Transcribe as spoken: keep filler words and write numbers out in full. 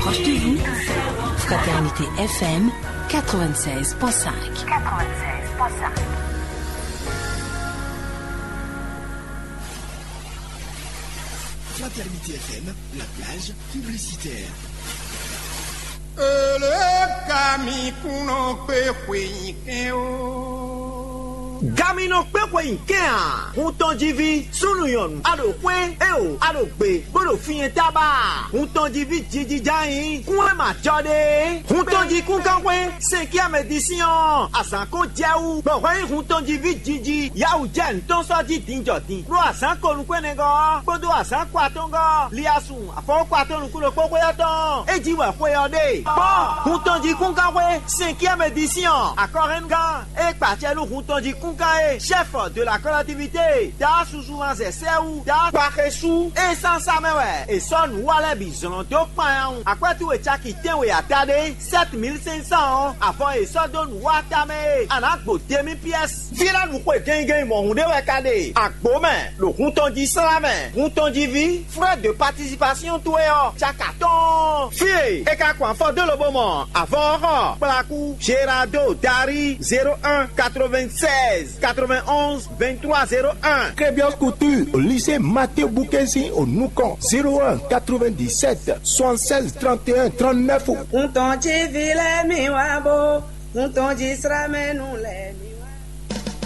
Proche de vous, Fraternité F M quatre-vingt-seize point cinq. Fraternité F M, la plage publicitaire. Ele ka mi kún nɔ kpé xwe nyi kɛn o. Gaminɔ kpé xwe nyi kɛn a? Hun tɔn jí ví, súnnu nyɔ̌nu, a ɖo xwé, éo, a ɖo gbe, bó ɖo fí nyɛ tábá a? Hun tɔn jí ví jijija nyí kún e ma jɔ ɖe é. Hun tɔn jí kúnkanxwé, cinquième édition, azǎn ko jɛ wú, bɔ hwɛ nyí hun tɔn jí ví jiji, yawu jɛ nǔtɔn sɔ́ jí din jɔ din, ɖó azǎn ko nukún ɛnɛgɔ́ ɔ́, kpódó azǎn ko atɔ́ngɔ́ ɔ́, li asun afɔwɔ́kɔ atɔn nukún ɖokpó xwé ɔ́ tɔn. É jí wɛ xwe ɔ́ ɖe. Kpɔ́n, hun tɔn jí kúnkanxwé, cinquième édition, akɔhɛnnugán e kpa acɛ nú hun tɔn jí kúnkan é, chef de la collectivité, Daa Suzuman Zɛsɛwu, Daa Kpaxesu, é sán sá mɛ wɛ è sɔ́ nǔ wa lɛ́ɛ bǐ zlɔ́n dó kpanyawun. Akwɛ́tú e caki tɛ́nwe ata ɖé, sept mille cinq cents ɔ́, avɔ e è sɔ́ dó nǔ wa tamɛ é, a nǎ gbo demi pièce. Fí lɛ́ɛ nu xwe gɛngɛn mɔ̌hun ɖé wɛ ka ɖe. Agbo mɛ, ɖo hun tɔn jí slá mɛ, hun tɔn jí ví, frais de participation towe ɔ́, caka tɔn. Fí e è ka kɔn afɔ dó lobo mɔ avɔ ɔ́ xɔ, kplakú, Gerardo Dari zéro un quatre-vingt-seize quatre-vingt-onze vingt-trois zéro un. Crébios Couture, au lycée Mathieu Boukensi au Noucon, zéro un quatre-vingt-dix-sept soixante-seize trente et un trente-neuf. Hun tɔn jí vi lɛ́ɛ mi wá bó, hun tɔn jí slá mɛ nú lɛ́ɛ.